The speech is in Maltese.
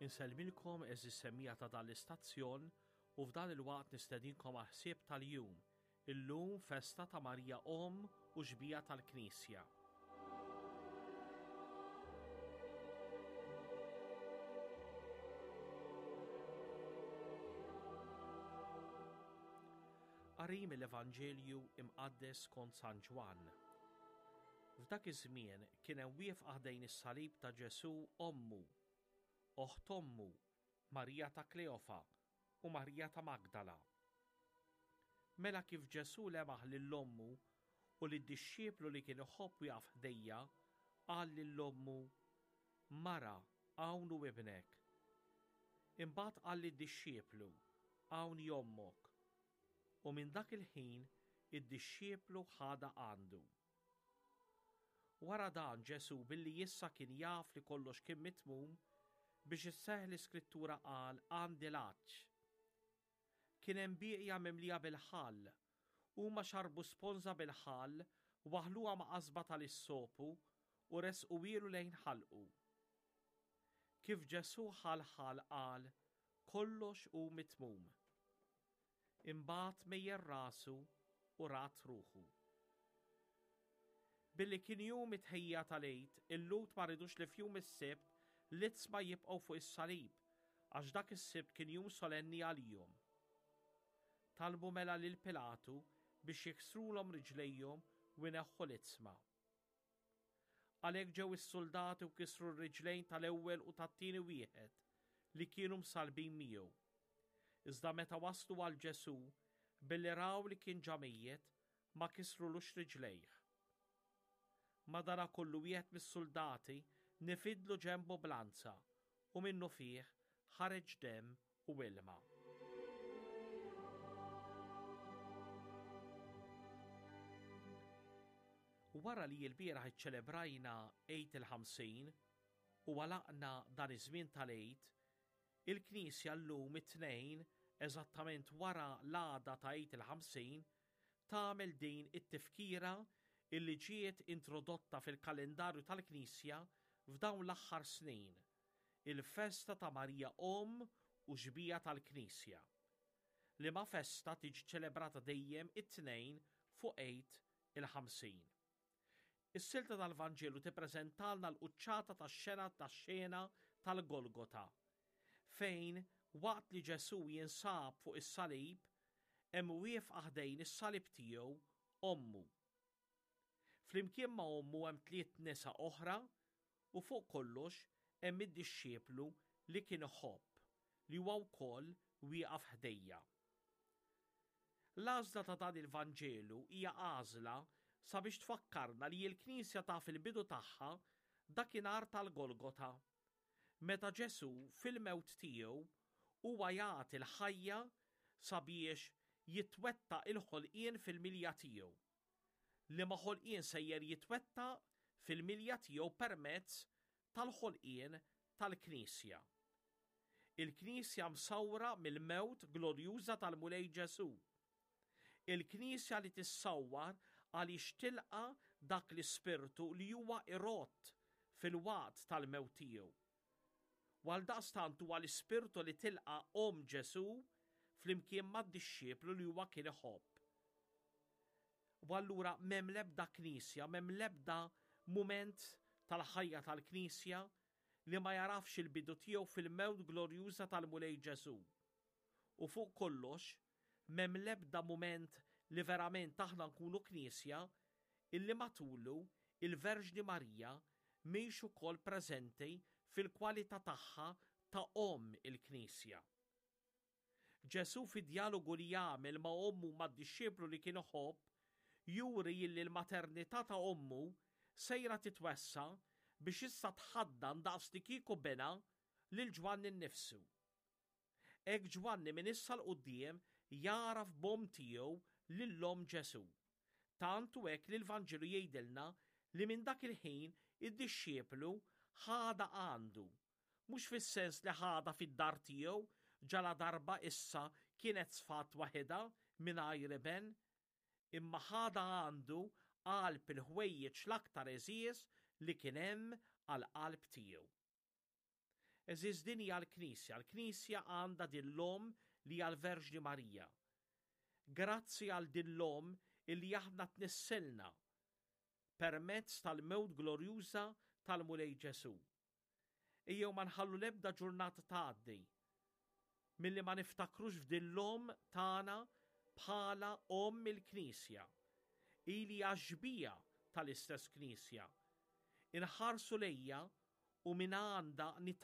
Insellmilkom għeżież semmiegħa ta' dan l-istazzjon u f'dan il-waqt nistedinkom għal ħsieb tal-jum, illum festa ta' Marija Omm u Xbieha tal-Knisja. Qari mill-Evanġelju Imqaddes skont San Ġwann. F'dak iż-żmien kien hemm wieqfa ħdejn is-salib ta' Ġesù ommu, oħt ommu, Marija ta' Kleofa u Marija ta' Magdala. Mela kif Ġesù lemaħ lil ommu u lid-dixxiplu li kien iħobb wieqaf ħdejja, qal lil ommu, Mara, hawn hu ibnek. Imbagħad qal lid-dixxiplu, Hawn hi ommok. U minn dak il-ħin id-dixxiplu ħadha għandu. Wara dan Ġesù billi issa kien jaf li kollox kien mitmum, biex isseħħ l-Iskrittura qal, Għandi l-għatx. Kien hemm bieqja mimlija bil-ħall. Huma xarrbu sponża bil-ħall, waħħluha ma' qasba tal-issopu u ressquhielu lejn ħalqu. Kif Ġesù ħa l-ħall qal, Kollox hu mitmum. Imbagħad mejjel rasu u rat ruħu. Billi kien jum it-tħejjija tal-Għid, il-Lhud ma ridux li f'jum is-Sibt l-iġsma jibqgħu fuq is-salib, għax dak is-Sibt kien jum solenni għalihom. Talbu mela lil Pilatu biex jiksrulhom riġlejhom u jneħħu l-iġsma. Għalhekk ġew is-suldati u kisru r-riġlejn tal-ewwel u tat-tieni wieħed li kienu msallbin miegħu. Iżda meta waslu għal Ġesù, billi raw li kien ġa mejjet, ma kisrulux riġlejh. Madanakollu wieħed mis-suldati nifidlu ġenbu b'lanza u minnufih ħareġ demm u ilma. Wara li l-bieraħ iċċelebrajna Għid il-50 u għalaqna dan iż-żmien tal-Għid, il-Knisja llum it-Tnejn, eżattament wara l-għada ta' Għid il-50, tagħmel din it-tifkira illi ġiet introdotta fil-kalendarju tal-Knisja f'dawn l-aħħar snin. il-festa ta' Marija Omm u Xbieha tal-Knisja, liema festa tiġi ċelebrata dejjem it-Tnejn fuq Għid il-50. Is-silta tal-Vanġelu tippreżentalna l-quċċata tax-xena tax-xena tal-Golgota, fejn waqt li Ġesù jinsab fuq is-salib, hemm wieqfa ħdejn is-salib tiegħu ommu. Flimkien ma' ommu hemm tliet nisa oħra u fuq kollox hemm id-dixxiplu li kien iħobb, li huwa wkoll wieqaf ħdejja. L-għażla ta' dan il-Vanġelu hija għażla sabiex tfakkarna li l-Knisja taf il-bidu tagħha dakinhar tal-Golgota, meta Ġesù fil-mewt tiegħu huwa jagħti l-ħajja sabiex jitwettaq il-ħolqien fil-milja tiegħu. liema ħolqien sejjer jitwettaq fil-milja tiegħu permezz tal-ħolqien tal-Knisja. Il-Knisja msawra mill-mewt glorjuża tal-Mulej Ġesù. Il-Knisja li tissawwar għaliex tilqa' dak l-Ispirtu li huwa irott fil-waqt tal-mewt tiegħu. U għaldaqstant huwa l-Ispirtu li tilqa' omm Ġesù flimkien mad-dixxiplu li huwa kien iħobb. U allura m'hemm l-ebda knisja, m'hemm l-ebda mument tal-ħajja tal-knisja li ma jarafx il-bidu tiegħu fil-mewt glorjuża tal-Mulej Ġesù. U fuq kollox, m'hemm l-ebda mument li verament aħna nkunu knisja illi matulu il-Verġni Marija mhix ukoll preżenti fil-kwalità tagħha ta' Omm il-Knisja. Ġesù fid-djalogu li jagħmel ma' ommu u mad-dixxiplu li kien iħobb, juri illi l-maternità ta' ommu sejra titwessa' biex issa tħaddan daqslikieku binha lil Ġwanni nnifsu. Hekk Ġwanni minn issa 'l quddiem jagħraf b'omm tiegħu lil omm Ġesù. Tant hu hekk li l-Vanġelu jgħidilna li minn dak il-ħin id-dixxiplu ħadha għandu, mhux fis-sens li ħadha fid-dar tiegħu ġaladarba issa kienet sfat waħidha mingħajr iben, imma ħadha għandu qalb il-ħwejjeġ l-aktar għeżież li kien hemm għall-qalb tiegħu. Għeżież din hija l-Knisja, l-Knisja għandha din l-Omm li hija l-Verġni Marija. Grazzi għal din l-Omm illi aħna tnissilna permezz tal-mewt glorjuża tal-Mulej Ġesù. Ejjew ma nħallu l-ebda ġurnata tgħaddi milli ma niftakrux f'din l-Omm tagħna bħala Omm il-Knisja, hi li hija xbieha tal-istess Knisja. Inħarsu lejha u minn għandha nitgħallmu.